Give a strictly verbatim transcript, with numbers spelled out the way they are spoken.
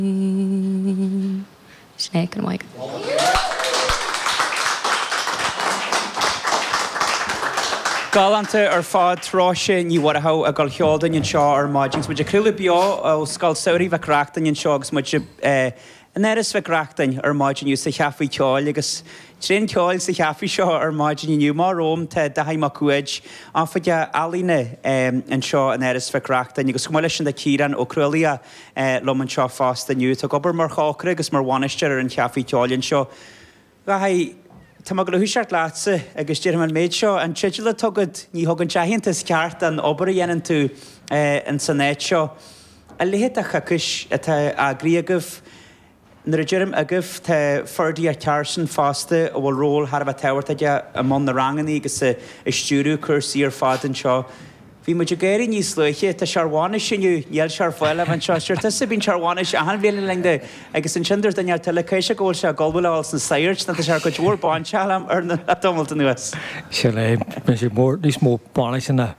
Sin é, go raibh maith agat. Galánta ar fad, Róise Ní Mhuireadhaigh ag dul a cheol dúinn anseo ar maidin. Agus muid ag craoladh beo ó Scoil Samhraidh Mhic Reachtain anseo agus muid in Áras Mhic Reachtain ar maidin inniu sa Chaifé Ceoil agus tréan ceoil sa chaifé seo ar maidin inniu. Amach romham tá Dáithí Mac Uaid, Oifigeach Ealaíne anseo in Áras Mhic Reachtain agus chomh maith leis sin tá Ciarán Ó Crualaoich liom anseo fosta inniu atá ag obair mar chócaire agus mar bhainisteoir ar an Chaifé Ceoil anseo. Dháithí, tá mé ag dul a thoiseacht leatsa agus déarfaidh mé an méid seo, an teideal atá agat, ní thugann sé aitheantas ceart don obair a dhéanann tú ins an áit seo. A leithéid de choicís atá eagraithe agaibh, nuair a deirim agaibh, tá Ferdia Carson fosta a bhfuil ról thar a bheith tábhachtach aige i mbun na rangannaí agus ag stiúradh cúrsaí ar fad anseo. Bhí muid ag gáirí níos luaithe, tá sé ar bhainis inniu, níl sé ar fáil amuigh anseo. Sure tusa, bíonn sé ar bhainis achan bhliain le linn de agus ansin dúirt duine eile caithfidh sé go bhfuil sé ag ullmhú le dhul sna sagairt nó tá sé ar cuid mhór bainseáil ar na tamalt anuas. Sin é, bíonn sé mór, níos mó bainise ná